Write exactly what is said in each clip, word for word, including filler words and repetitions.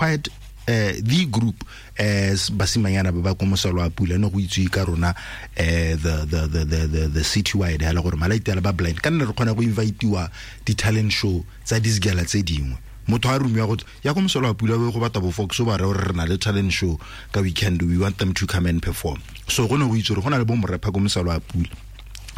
quite uh, the group as basimanyana ba ba ko Mosolo a Pula ne go itse ka rona eh the the the the the, the city wide hela gore malaiti ala ba blind ka nne re kgona go invitewa di talent show tsa disgala tse dingwe motho a rumiwa go ya ko Mosolo a Pula go batla bo Fox ba re re na le talent show ka weekend, we want them to come and perform. So go ne go itse gore go na le bo morepha ko Mosolo a Pula.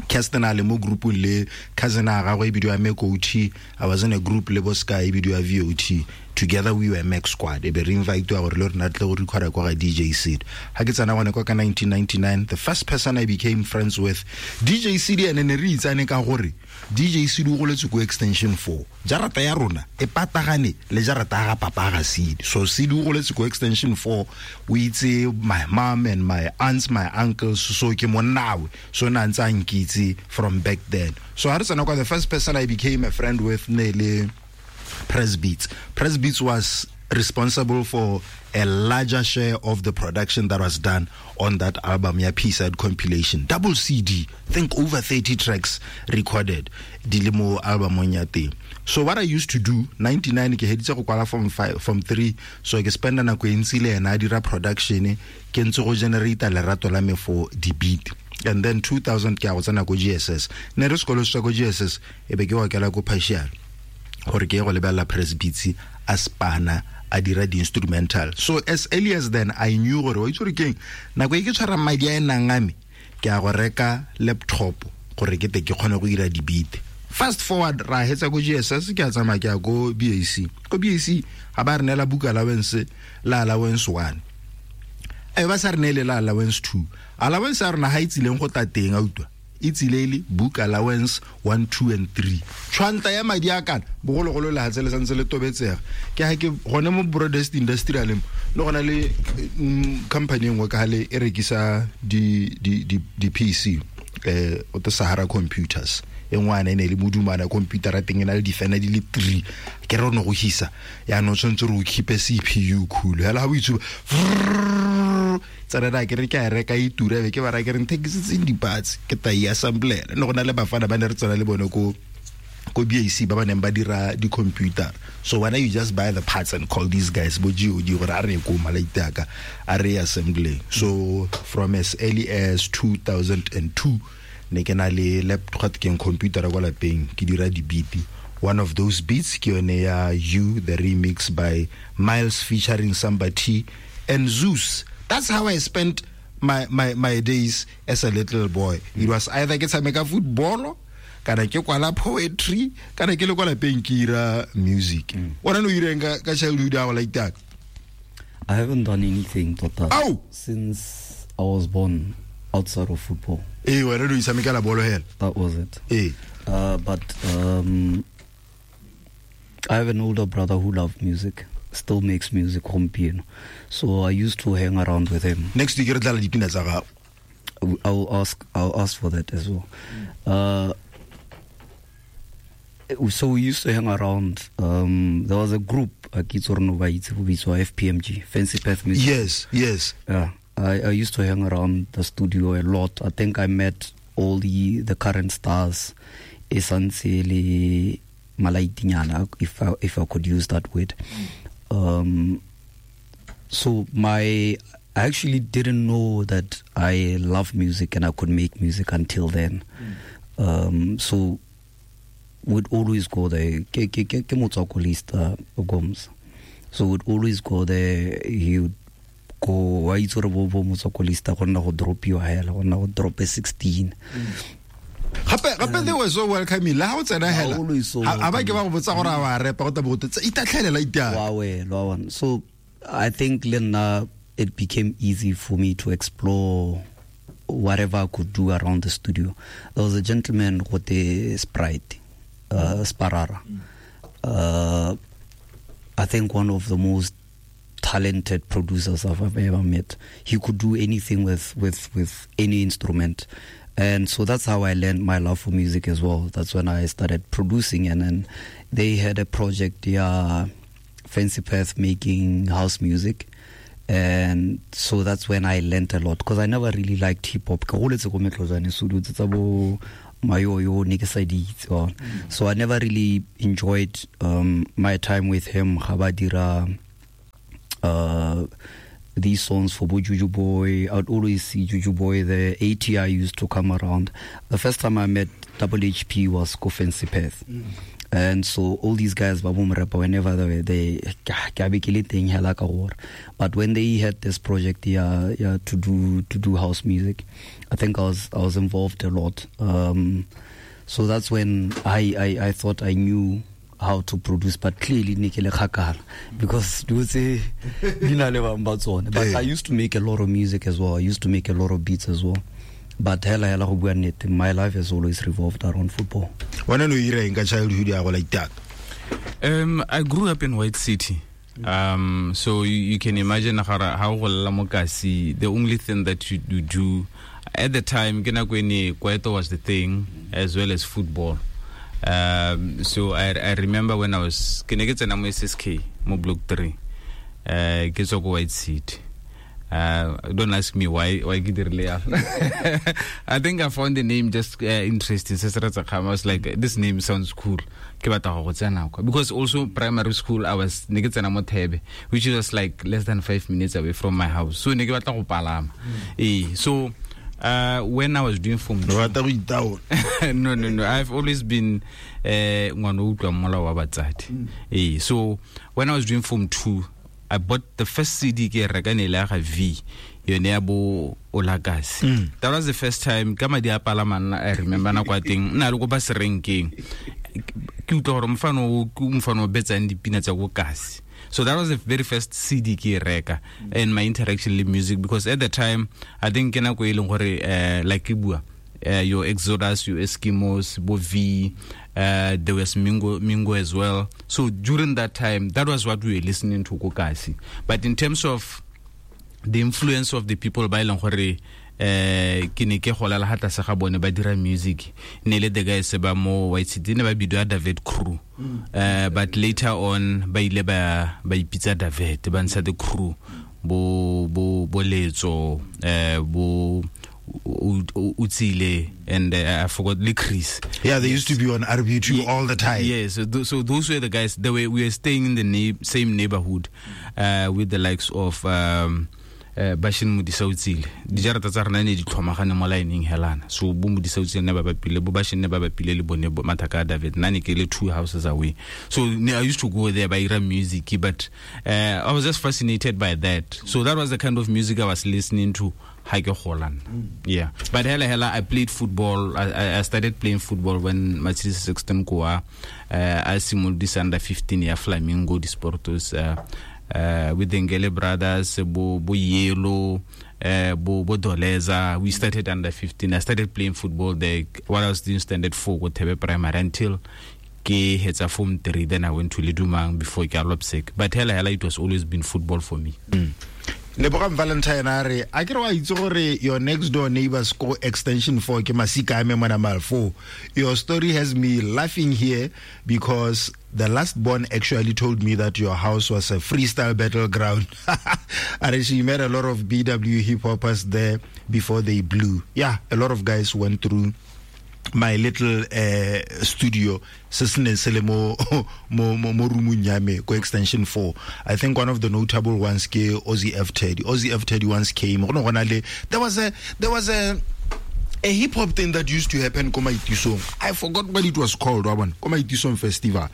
Kirsten a le mo groupung le cousin a gagwe e bidiwa Mekouti. I was in a group le bo Sky e bidiwa V O T. Together we were Mac Squad. E be re invitewa gore le rena tle go recorda kwa ga D J Sid. Ha ke tsena gone kwa ka nineteen ninety-nine, the first person I became friends with, D J Sid, ene ne re itsane ka gore D J Sid o goletse ko extension four. Jarata ya rona e patagane le jarata ga papa ga Sid. So Sid o goletse ko extension four, o itse my mom and my aunts, my uncles, so ke monnawe. So na ntse a nkitse from back then. So ha re tsena kwa, the first person I became a friend with ne le Press Beats. Press Beats was responsible for a larger share of the production that was done on that album, ya P-side compilation. Double C D, think over thirty tracks recorded, dilemo album on ya teng. So what I used to do, ninety-nine, ke heditse go kwala from five, from three, so ke spenda nako e ntsi le ena a dira production, ke ntse go generate lerato la me for di beat. And then two thousand ke a go tsena ko G S S. Ne re sekolo sa ko G S S, e be ke wa kela ko partial. Gore ke go lebella Press Beats a spana a dira di instrumental. So as early as then I knew gore wa itse gore keng nako e ke tshwara madi a e nang a me ke a go reka laptop gore ke te ke kgone go dira di beat. Fast forward ra hetsa ko G S S, ke a tsamaya ke ya ko B A C. Ko B A C ga ba re neela book allowance la allowance one. E ba sa re neele la allowance two. Allowance ya rona ha e tsileng go tla teng a utlwa. E tsile book allowance one, two and three. Tshwantla ya madi a kana bogologolo le hatse le santse le tobetsega. Ke ha ke gone mo Broadest Industrial le gona le company engwe ka le e rekisa di di di di P C eh o te Sahara Computers. E ngwana e ne le modumana computer a teng e na le difena di le three. Ke re no go hisa. Ya no tshwantse re o keep C P U cool. Hela ha o itsuba tsana ke re ke a reka e tura be ke ba ra ke re nthekisitseng di-parts ke ta e assemblela. Ne go na le bafana ba ne re tsena le bone ko ko B A C ba ba neng ba dira di-computer. So why you just buy the parts and call these guys bo G O D gore a re ko malaite aka a re assembling. So from as early as two thousand two ne ke na le laptop ke computer kwa lapeng ke dira di-beat. One of those beats ke yone ya You, the remix by Miles featuring Samba T and Zeus. That's how I spent my, my, my days as a little boy. It was either ke tshameka football, kana ke kwala poetry, kana ke le kwa lapeng ke ira music. Wena no ireng ka ka childhood ya go like that? I haven't done anything tota Ow! since I was born outside of football. Eh, wena no itshamekela bolo hela. That was it. Eh. Uh, but um, I have an older brother who loved music. Still makes music gompieno. So I used to hang around with him. Next week re tla dipina tsa gago. I'll ask I'll ask for that as well. Uh, so we used to hang around. Um, there was a group, F P M G, Fancy Path Music. Yes, yes. Yeah. I, I used to hang around the studio a lot. I think I met all the, the current stars. Essentially Malaitinyana, if I if I could use that word. Um, so my, I actually didn't know that I love music and I could make music until then. Mm. Um, so we'd always go there. Ke ke ke ke motswakolista Goms. So we'd always go there. He would go, wa itse gore bo bo motswakolista go nna go dropiwa hela, go nna go drop sixteen. Mm. Gape gape they were so welcoming. La ha o tsena hela. Ha ba ke ba go botsa gore a wa repa go tla bo go itatlhelela itia. Wa we, lo wa. So I think lena it became easy for me to explore whatever I could do around the studio. There was a gentleman with a Sprite, uh, Sparara. Uh, I think one of the most talented producers I've ever met. He could do anything with, with, with any instrument. And so that's how I learned my love for music as well. That's when I started producing. And then they had a project, yeah, Fancy Path, making house music. And so that's when I learned a lot, because I never really liked hip hop. So I never really enjoyed um, my time with him. these songs for Bo Juju Boy. I'd always see Juju Boy there. A T I used to come around. The first time I met Double H P was Kofensi Perth. Mm. And so all these guys, whenever they were they, but when they had this project, yeah, yeah, to do to do house music, I think I was I was involved a lot. Um, so that's when I, I, I thought I knew how to produce, but clearly because but I used to make a lot of music as well. I used to make a lot of beats as well. But hela hela go bua nnete, my life has always revolved around football. Wena no ira eng ka childhood ya go like that? Um, I grew up in White City. Um, so you, you can imagine how go lla mo kasi, the only thing that you, you do at the time, ke nako e ne kwaito was the thing as well as football. Um, so I, I remember when I was ke ne ke tsena mo S S K mo block three. Uh, ke tswa ko White City. Uh, don't ask me why why ke dirile yalo. I think I found the name just uh, interesting. I was like, this name sounds cool. Ke batla go tsena kwa. Because also primary school I was ne ke tsena mo Thebe, which was like less than five minutes away from my house. So ne ke batla go palama. Mm. Eh, so uh, when I was doing form two, no no no I've always been eh ngwana o utlwa molao wa batsadi. Eh, so when I was doing form two, I bought the first C D ke reka ne le ga V yone ya bo Olakasi. Mm. That was the first time ka madi a palamana. I remember na kwa teng nna le go ba serenkeng ke utlwa gore mfano o ke mfano o betsang dipina tsa go kasi. So that was the very first C D ke reka and my interaction with music, because at the time I think ke nako e leng gore uh, like ke bua uh, your Exodus, your Eskimos, bo V, uh, there was Mingo, Mingo as well. So during that time, that was what we were listening to Kokasi. But in terms of the influence of the people ba e leng gore eh ke ne ke gola la hata sa ga bone ba dira music ne le the guys ba mo White City ne ba bidiwa David Crew. Uh, but later on ba ile ba ba ipitsa David ba ntsha the crew bo bo bo letso eh bo Utsile and uh, I forgot le Chris. Yeah, they used to be on R B two yeah, all the time. Yeah, so, th- so those were the guys. They were, we were staying in the na- same neighborhood uh, with the likes of um, uh, Bashin Modisa Utsile. Dijarata tsa rena ne di tlhomagane mo lineng helana. So bo Modisa Utsile ne ba bapile, bo Bashin ne ba bapile le bone bo Mathaka David. Nna ne ke le two houses away. So I used to go there by ira music, but uh, I was just fascinated by that. So that was the kind of music I was listening to. Mm. Yeah, but hela hela I played football. I, I started playing football when Mathis Sexton Koa uh, I simultaneously under fifteen year Flamingo di Sportos uh, uh, with the Ngele brothers, Bo Bo Yelo, uh, Bo Bo Doleza. We started under fifteen. I started playing football there while I was doing standard four go Thebe Primary until ke hetsa form three. Then I went to Ledumang before ke Lopsek. But hela hela it was always been football for me. Mm. Lebogang Valentine a re a ke re wa itse gore your next door neighbors ko extension four ke masika a me mona mal four. Your story has me laughing here because the last born actually told me that your house was a freestyle battleground. And she met a lot of B W hip hoppers there before they blew. Yeah, a lot of guys went through my little uh, studio se se neng se le mo mo mo roomong ya me ko extension four. I think one of the notable ones ke Ozzy F Teddy. Ozzy F Teddy once came. Go ne go na le there was a there was a a hip hop thing that used to happen ko Maitisong. I forgot what it was called, wa bona, ko Maitisong festival.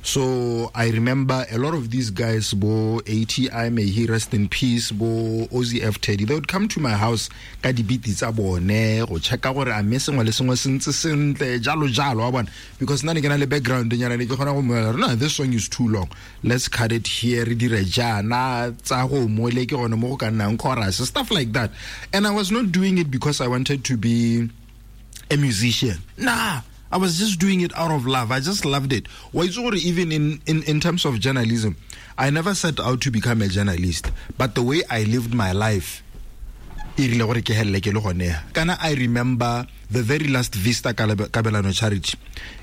So I remember a lot of these guys, bo A T I, may he rest in peace, bo Ozzy F Teddy, they would come to my house ka di-beat tsa bone go checka gore a mme sengwe le sengwe se ntse sentle jalo jalo, wa bona, because nna ne ke na le background nyana ne ke kgona go mmolela, no, this song is too long, let's cut it here, re dire jaana tsa go mole ke gone mo go ka nnang chorus, stuff like that. And I was not doing it because I wanted to be a musician. Nah, I was just doing it out of love. I just loved it. Even in, in, in terms of journalism, I never set out to become a journalist. But the way I lived my life, kana I remember the very last Vista Kabelano Charity.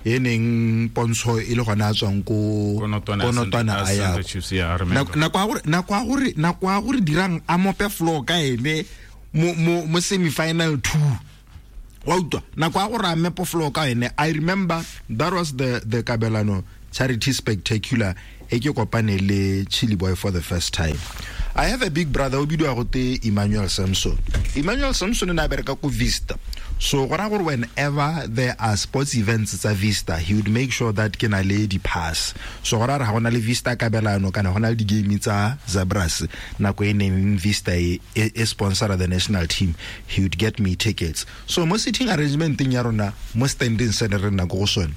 E neng pontsho e le gona a tswang ko Konotwana a ya. Nako ya gore nako ya gore dirang a mope floor ka ene mo mo semi-final two. Wa utlwa nako ya gore a mepo floor ka ene. I remember that was the the Kabelano Charity Spectacular e ke kopane le Chili Boy for the first time. I have a big brother o bidiwa gote Emmanuel Samson. Emmanuel Samson ne a bereka ko Vista. So go ra gore whenever there are sports events tsa Vista, he would make sure that ke na le di pass. So go ra re ga gona le Vista kabelano kana gona le di game tsa Zabras nako e neng Vista e, e, e sponsor the national team, he would get me tickets. So mo sitting arrangement ya rona mo standing se ne re nna ko go sone,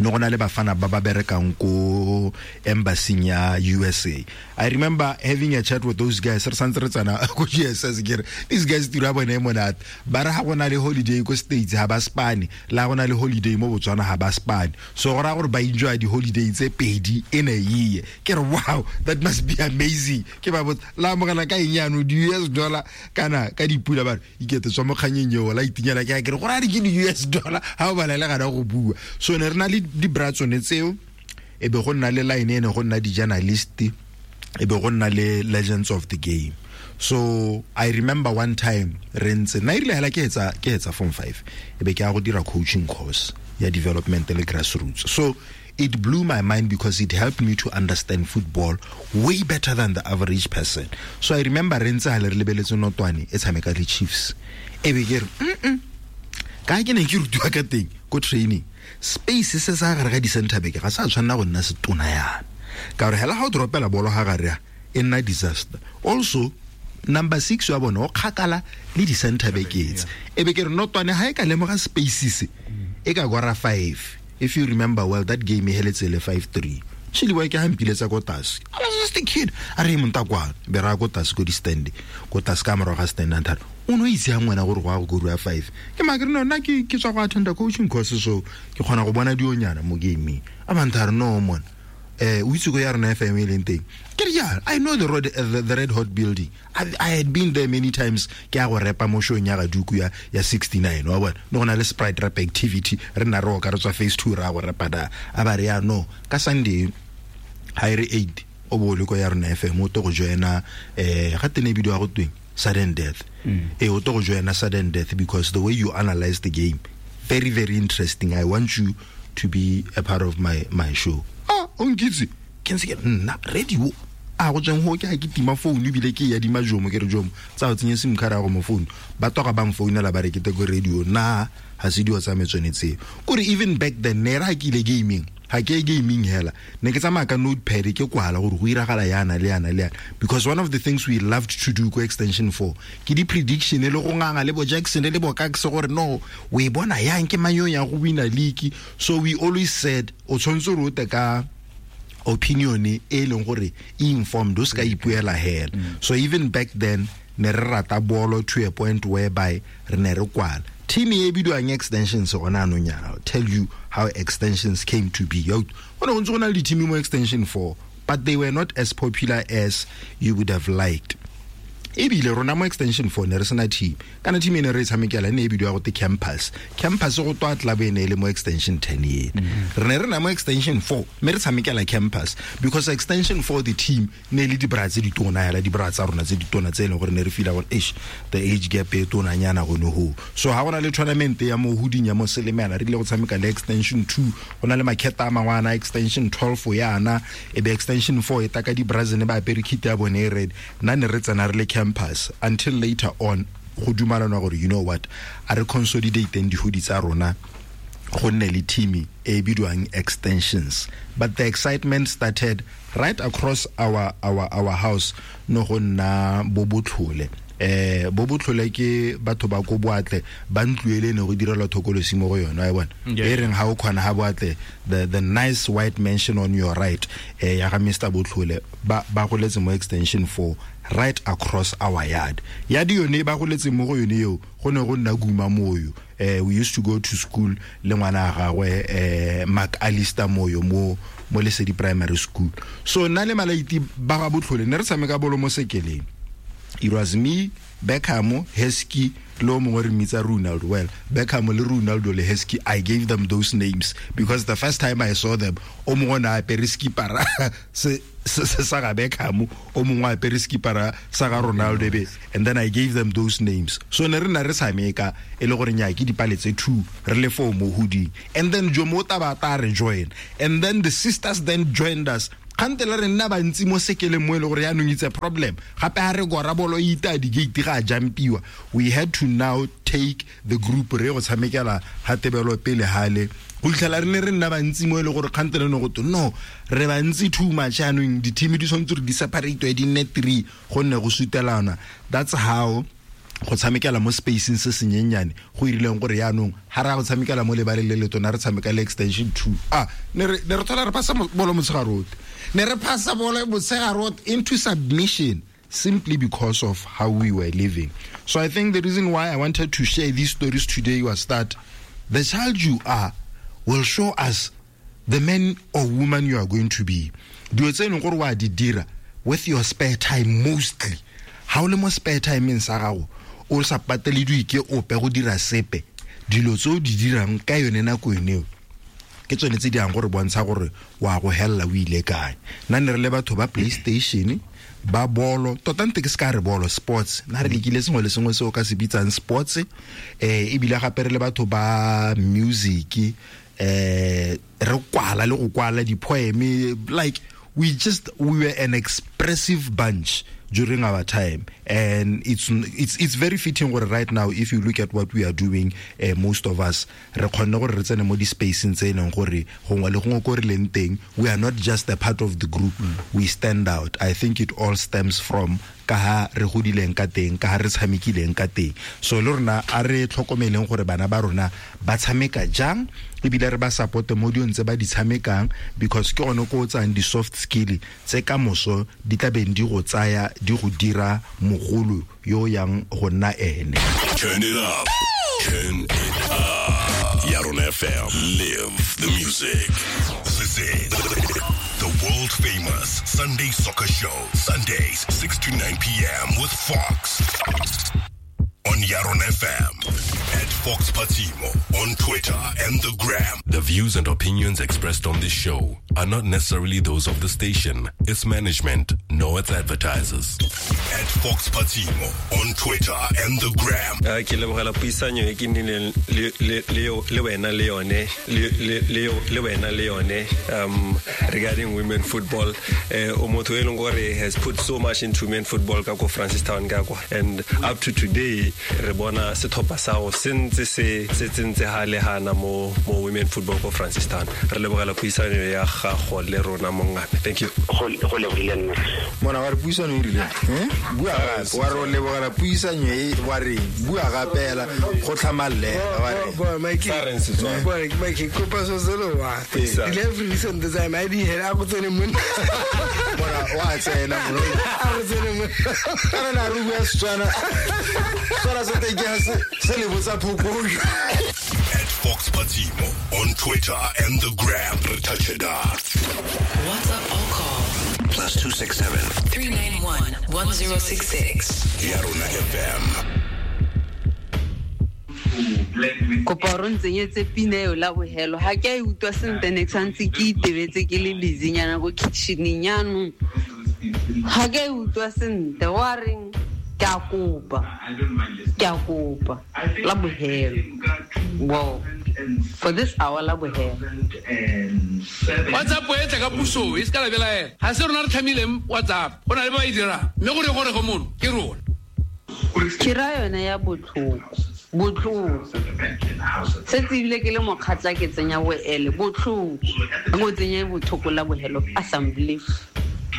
no go na le bafana ba ba berekang ko embassy ya U S A. I remember having a chat with those guys re santse re tsana ko G S S ke re these guys tiro ya bone e monate ba re ga go na le holiday ko States ha ba spane, la go na le holiday mo Botswana ha ba spane. So go ra gore ba enjoy di holiday tse pedi in a year. Ke re wow, that must be amazing. Ke ba botsa la amogela ka eng yano di U S dollar kana ka dipula ba re ikete tswa mo kganyeng eo la itinyela ke ke re go ra di ke di U S dollar ha o bala le gana go bua. So ne re na le di bra tsone tseo e be go nna le line ene go nna di journalist e be go nna le legends of the game. So I remember one time re ntse nna erile hela ke etsa ke etsa form five e be ke a go dira coaching course ya development le grassroots. So it blew my mind because it helped me to understand football way better than the average person. So I remember re ntse ha le re lebeletse Notwane e tshameka le Chiefs e be ke re mm ka ke ne ke rutiwa ka teng ko training space se sa gare ga di center back ga sa tshwanna go nna setona yana ka gore hela ha o dropela bolo ha gare e nna disaster. Also number six wa bona o kgakala le di center back tse e be ke re Notwane ha e ka lemoga space se e ka gora five. If you remember well, that game e heletse le five three. Chili wa ke hampiletsa ko tlase. I was just a kid. A re montakwa be ra ko tlase ko di stand ko tlase ka morago ga stand and thare o no itse yang ngwana gore go a go gorua five. Ke makere no nna ke ke tswa go attenda coaching course so ke kgona go bona dionyana mo gaming. A bantare no mon eh o itse go ya rena F M e leng teng. Ke re ya I know the road, uh, the, the Red Hot building. I, I had been there many times ke a go repa mo showng ya gaduku ya ya sixty-nine wa bona no gona le Sprite rap activity re nna re o ka re tswa phase two ra go repa da a ba re ya no ka Sunday ha ere eight o bo le ko ya rena F M o to go joina eh ga tene bidio ya go tweng sudden death. E o to go joina sudden death because the way you analyze the game very very interesting. I want you to be a part of my my show. Ah o nkitse ke ntse ke nna radio a go tsweng ho ke ha ke tima phone ebile ke ya di majomo ke re jomo tsa o tsenye sim card ya go mo phone ba toga ba mfounela ba re ke te go radio na ha se dio tsa metsone tse kore even back then ne ra ke ile gaming ha ke gaming hela ne ke tsamaya ka notepad ke kwala gore go iragala yana le yana le yana because one of the things we loved to do ko extension four ke di prediction le go nganga le bo Jackson le bo Kax gore no we bona yang ke manyo ya go wina league. So we always said o tshwantse re o te ka opinion e leng gore e informed o ska ipuela hela. So even back then ne re rata bolo to a point whereby re ne re kwala team e bidiwang extensions gona anong yana. I'll tell you how extensions came to be. Yo go ne go ntse go na le di-team mo extension four but they were not as popular as you would have liked. Ebile rona mo extension four ne re sena team kana team e ne re e tshamekela ne e bidiwa go te campus campus go twa club e ne e le mo extension ten ena. Re ne re na mo extension four mme re tshamekela campus because extension four the team ne le dibra tse ditona hela dibra tsa rona tse ditona tse e leng gore ne re feel gore eish the age gap e tonanyana gone ho. So ha gona le tournament ya mo huding ya mo Selemela re ile go tshameka le extension two go na le maketa a mangwana extension twelve yana e be extension four e taka di bra ne ba apere kit ya bone e red nna ne re tsena re le campus until later on go dumalana gore you know what a re consolidate dihudi tsa rona go nne le team e bidiwang extensions. But the excitement started right across our our our house no go nna bobotlhole eh bobotlhole ke batho ba ko boatle ba ntluele ne go direlwa thokolosi mo go yona wa bona e reng ha o khona ha boatle the the nice white mansion on your right eh ya ga Mister Botlhole ba ba goletse mo extension four right across our yard ya di yone ba goletse mo go yone eo go ne go nna Guma Moyo. Eh we used to go to school le ngwana gagwe eh Mark Alistair Moyo mo mo Lesedi Primary School. So nna le malaiti ba ga Botlhole ne re tshameka bolo mo sekeleng. It was me, Beckham, Heskey, lo mongwe re mmitsa Ronaldo. Well, Beckham le Ronaldo le Heskey, I gave them those names because the first time I saw them, o mongwe na apere skipara se se sa ga Beckham, o mongwe apere skipara sa ga Ronaldo be, and then I gave them those names. So ne re na re tshameka e le gore nya ke dipale tse two re le four mo hoodie, and then Jomo Tabata re join, and then the sisters then joined us. Kgante le re nna bantsi mo sekeleng mo e le gore yaanong it's a problem. Gape ha re gora bolo e ita di-gate ga a jampiwa. We had to now take the group re go tshamekela ha tebelo pele hale. Go fitlhela re ne re nna bantsi mo e le gore kgante le ne go twe no re bantsi too much yaanong di-team di tshwanetse gore di separate di nne three gonne go sutelana. That's how go tshamekela mo spacing se senyenyane go irileng gore yaanong ha ra go tshamekela mo lebaleng le le tona re tshameka le extension two. Ah, ne re ne re thola re phasa bolo motshegare otlhe. Ne re phasa bolo motshegare otlhe into submission simply because of how we were living. So I think the reason why I wanted to share these stories today was that the child you are will show us the man or woman you are going to be. Dilo tse e leng gore wa di dira with your spare time mostly. Ha o le mo spare time sa gago o sa patelediwe ke ope go dira sepe, dilo tse o di dirang ka yone nako eo ke tsone tse di yang gore bontsha gore wa go hella o ile kae. Nna ne re le batho ba PlayStation, ba bolo, tota nte ke se ka re bolo, sports. Nna re lekile sengwe le sengwe se o ka se bitsang sports, eh ebile gape re le batho ba music, eh re kwala le go kwala di-poem, like we just we were an expressive bunch during our time, and it's it's it's very fitting gore right now if you look at what we are doing, uh, most of us re kgonne gore re tsene mo di-spacing tse e leng gore gongwe le gongwe ko re leng teng, we are not just a part of the group, we stand out. I think it all stems from ka ha re godileng ka teng, ka ha re tshamekileng ka teng. So le rona a re tlhokomeleng gore bana ba rona ba tshameka jang, ebile re ba support mo dilong tse ba di tshamekang, because ke gone ko o tsayang di-soft skill tse ka moso di tla beng di go tsaya di go dira mogolo yo yang go nna ene. Turn it up. Turn it up. Yarona F M. Live the music. This is the world famous Sunday Soccer Show. Sundays, six to nine p.m. with Fox. On Yarona F M. At Fox Patimo on Twitter and the Gram. The views and opinions expressed on this show are not necessarily those of the station, its management, nor its advertisers. At Fox Patimo on Twitter and the Gram. Ke lebogela puisanyo e ke nnileng le wena le yone le wena le yone um regarding women football. O motho e leng gore has put so much into women football ka ko Francistown ka kwa, and up to today re bona setlhopha sa go sentse se se tsentse ha le hana mo mo women football ko Francistown. Re lebogela puisanyo ya gago le rona mongame. Thank you. Go lebogile nna. Mona wa re puisano e rile, eh? Bua gape, wa re lebogela puisanyo e wa re bua gape go tlhamallela wa re. Bo Mike. Bo Mike kopa so selo wa. Delivery recent design I di hela go tsene monna. Mona wa tsena mona. A go tsene monna. Kana na re bua Setswana. Setswana se teng ke se se le botsa phokojwe. At Fox Patimo on Twitter and the Gram. Touch it up. WhatsApp or call plus two six seven three nine one one zero six six. Yarona F M. Kopa ro ntsenyetse pina eo la bohelo ha ke a e utlwa sentle ne ke santse ke itebetse ke le busynyana ko kitcheneng yanong ha ke a e utlwa sentle wa reng ke a kopa ke a kopa la bohelo. Wow, for this hour la bohelo WhatsApp e tla ka puso e se ka la belaela ha se rona re tlhamileng WhatsApp go na le ba e dirang mme gore gore go mono ke rona ke ra yone ya botlhoko botlhoko setse ebile ke le mokgatla ke tsenya boele botlhoko go tsenya botlhoko la bohelo assembly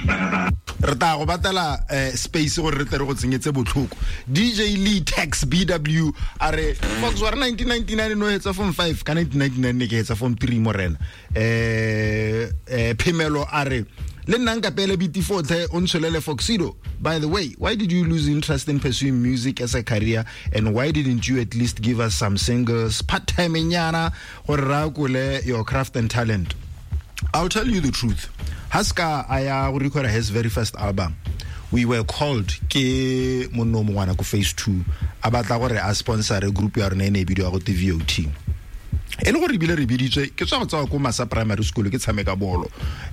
re tla go batela space gore re tle re go tsenyetse botlhoko. D J Lee Tax B W a re Fox wa re nineteen ninety-nine no hetsa form five ka nineteen ninety-nine ne ke hetsa form three morena. Eh eh Phemelo a re le nna nka pele B T four tlhe o ntsholele Foxido. By the way, why did you lose interest in pursuing music as a career, and why didn't you at least give us some singles part time nyana gore ra kole your craft and talent? I'll tell you the truth. Haska aya go record his very first album. We were called ke monno mongwana ko phase two a batla gore a sponsor group ya rona e ne e bidiwa go V O T. E le gore ebile re biditswe ke tswa go tswa ko Masa Primary School ke tshameka bolo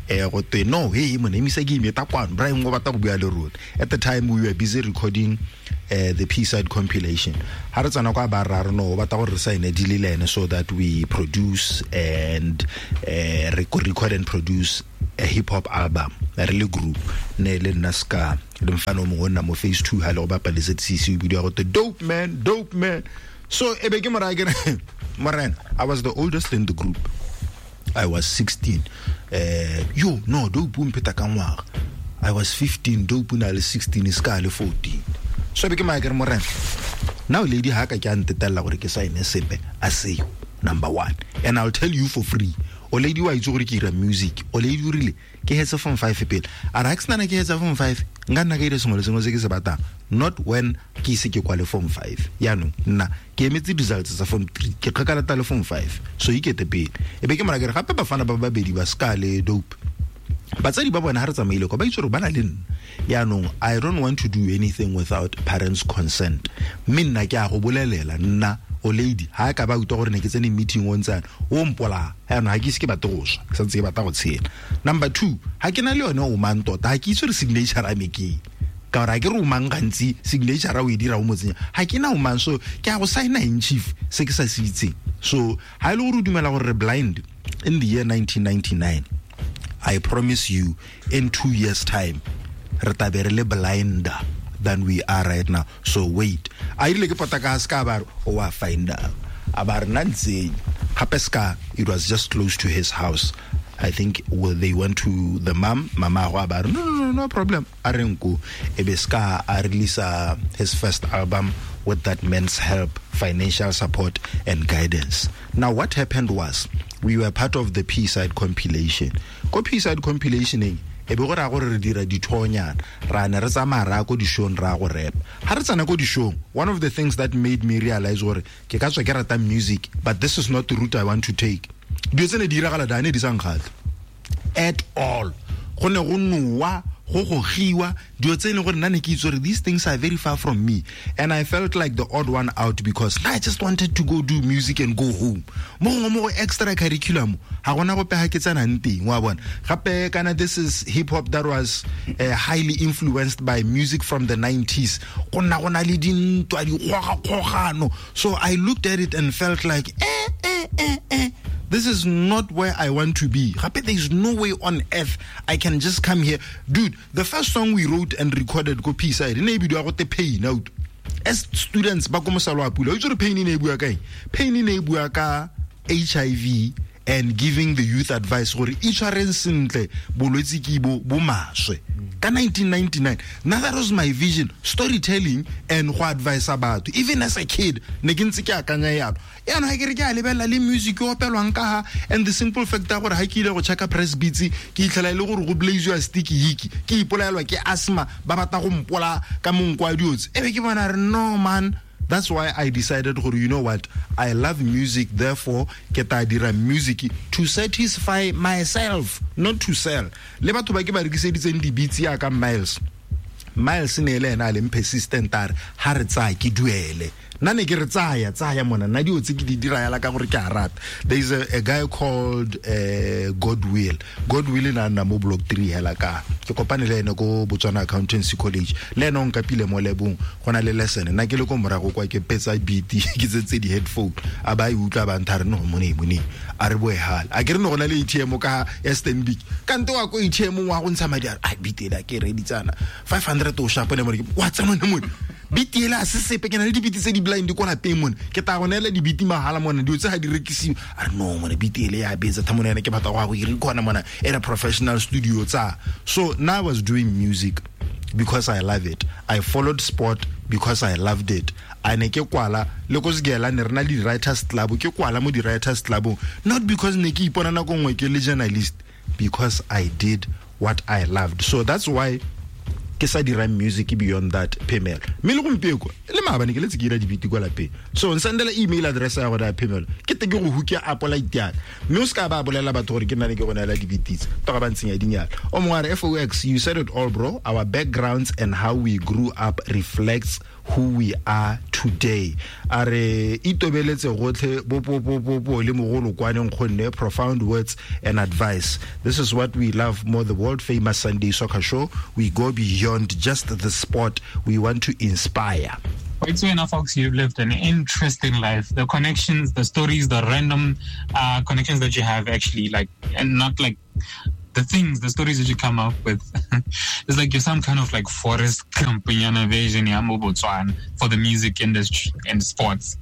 eh go twe no hey mona emisa ke imeta kwano Brian o batla go bua le rona. At the time we were busy recording uh, the P-side compilation. Ha re tsana kwa ba ra re no o batla gore re sign deal le ene so that we produce and uh, record and produce a hip hop album re le group ne le nna ska le mfana o mongwe nna mo phase two ha le go bapala Z C C o bidiwa go te dope man dope man. So e be ke mora ke morena, I was the oldest in the group. I was sixteen. Uh, yo no dope o mpheta ka ngwaga. I was fifteen, dope o na le sixteen, ska le fourteen. So be ke mara ke re morena, now lady ha ka ke a ntetella gore ke sign sepe a seo number one, and I'll tell you for free. O lady wa itse gore ke ira music, o lady o rile ke hetse form five pele, a re ha ke sena ke hetsa form five nka nna ka ira sengwe le sengwe se ke se batlang, not when ke ise ke kwale form five. Yaanong nna ke emetse results tsa form three, ke kgakala le form five, so ikete pele. E be ke mora ke re gape bafana ba babedi ba ska le dope, batsadi ba bona ha re tsamaile kwa ba itse gore ba na le nna. Yaanong I don't want to do anything without parents' consent, mme nna ke a go bolelela nna o lady ha ka ba utlwa gore ne ke tsene meeting o ntsana o mpola yaanong ha ke ise ke batle go swa, ke santse ke batla go tshela. Number two, ha ke na le yone o mang tota, ha ke itse gore signature a me ke ka gore ha ke re o mang gantsi signature o e dira o mo tsenya, ha ke na o mang, so ke a go signa in chief se ke sa se itseng. So ha e le gore o dumela gore re blind in the year nineteen ninety-nine, I promise you in two years time re tla be re le blinder than we are right now. So wait. A ile ke pota ka ska ba o wa find out. A ba re nna ntse gape ska, it was just close to his house. I think well, they went to the mom, mama go ba no no no no problem. A re nko e be ska a release his first album with that man's help, financial support and guidance. Now what happened was we were part of the P-side compilation. Ko P-side compilation e be go ra gore re dira dithonyana ra ne re tsamaya ra ko dishong ra go rap. Ha re tsana ko dishong, one of the things that made me realize gore ke ka tswa ke rata music, but this is not the route I want to take. Dilo tse ne di diragala da ne di sa nkgatlhe at all. Go ne go nowa, go gogiwa, dilo tse e leng gore nna ne ke itse gore these things are very far from me, and I felt like the odd one out because I just wanted to go do music and go home. Mo gongwe mo go extra curriculum ga gona gope ga ke tsenang teng, wa bona. Gape kana this is hip hop that was uh, highly influenced by music from the nineties. Go nna go na le dintwa, dikgogakgogano. So I looked at it and felt like eh eh eh eh, this is not where I want to be. Gape there is no way on earth I can just come here. Dude, the first song we wrote and recorded ko P-side, e ne e bidiwa go te Pain out. As students ba ko Mosalo a Pula, o itse gore pain e ne e bua ka eng? Pain e ne e bua ka H I V and giving the youth advice gore itshwareng sentle, bolwetse ke bo bo maswe. Ka nineteen ninety-nine, now that was my vision, storytelling and go advise batho. Even as a kid, ne ke ntse ke akanya yalo. Yaanong ha ke re ke a lebelela le music e opelwang ka ha, and the simple fact ya gore ha ke ile go checka press beats, ke itlhela e le gore go blaziwa sticky hiki, ke ipolaelwa ke asthma, ba batla go mpola ka monko wa diotse. E be ke bona re no man. That's why I decided, you know what, I love music, therefore, ke tla dira music to satisfy myself, not to sell. Le batho ba ke ba rekiseditseng di-beats ya ka Miles. Miles ne le ena a leng persistent a re, ha re tsaya ke duele. Nna ne ke re tsaya, tsaya mona, nna dio tse ke di dira yala ka gore ke a rata. There is a, a guy called uh, Godwill. Godwill na nna mo block three hela ka. Ke kopane le ene ko Botswana Accountancy College. Le ene o nkapile mo lebong, go na le lesson. Nna ke le ko morago kwa ke petsa beat, ke tsentse di-headphone. A ba e utlwa ba ntha re no mone mone. A re boe hala. A ke re no go na le A T M ka ya Stanbic. Kante wa ko A T M wa go ntsha madi a re, ai beat ela ke reditsana. five hundred o sharp ne mone. Wa tsena mone. Beat ela se sepe ke na le dibiti tse di blind ko lapeng mone. Ke tla go neela dibiti mahala mone, dilo tse ga di rekisiwe. A re no mone beat ele ya betsa tha mone ene ke batla go ya go e record mona at a professional studio tsa. So now I was doing music because I love it. I followed sport because I loved it. A ne ke kwala le ko Segela ne re na le di-writers club, ke kwala mo di-writers club, not because ne ke ipona nako nngwe ke le journalist, because I did what I loved. So that's why ke sa dirang music beyond that Phemelo. Mme le gompieko le maabane ke letse ke ira dibiti kwa lapeng. So nsendela email address ya gore ya Phemelo, ke te ke go hooke Apple I D ya ka. Mme o ska ba bolela batho gore ke nna ne ke go neela dibiti tse toka ba ntsenya dinyala. O mongwe a re, F O X, you said it all bro. Our backgrounds and how we grew up reflects who we are today. A re itobeletse gotlhe bo bo bo bo bo le mogolo kwane nkgonne, profound words and advice. This is what we love more, the world famous Sunday Soccer Show. We go beyond just the sport. We want to inspire. It's enough, folks, you've lived an interesting life. The connections, the stories, the random uh, connections that you have actually, like, and not like The things, the stories that you come up with, it's like you're some kind of like Forrest Gump version ya mo Botswana for the music industry and sports.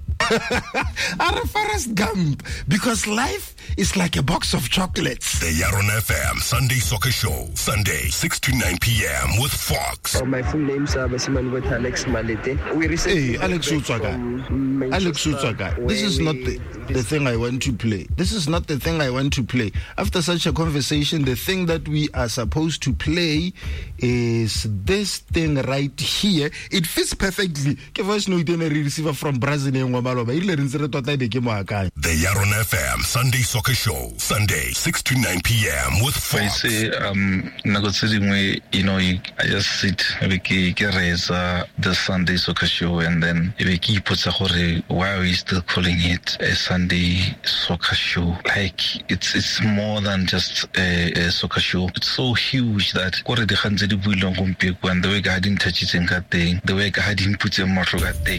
Are Forrest Gump, because life is like a box of chocolates. The Yaron F M Sunday Soccer Show, Sunday six to nine p.m. with Fox. Oh, my full name's uh, Basimane with Alex Malete. We recently Hey, Alex Utswaka. Alex Utswaka. This is not the, the thing I want to play. This is not the thing I want to play. After such a conversation, the thing that we are supposed to play is this thing right here. It fits perfectly. Ke voice note e re receiver from Brazil e nngwe maloba. E rile re ntse re tota e be ke mo akanya. The Yaron F M Sunday Soccer Show, Sunday six to nine p.m. with Fox. I say, um, nako tse dingwe, you know, I just sit e be ke ke reetsa the Sunday Soccer Show, and then e be ke ipotsa gore why are we still calling it a Sunday Soccer Show? Like it's it's more than just a, a soccer show. It's so huge that kore dikgang tse di builweng gompieno and the way ka ha di nthatšitseng ka teng, the way ka ha di mputseng matlho ka teng.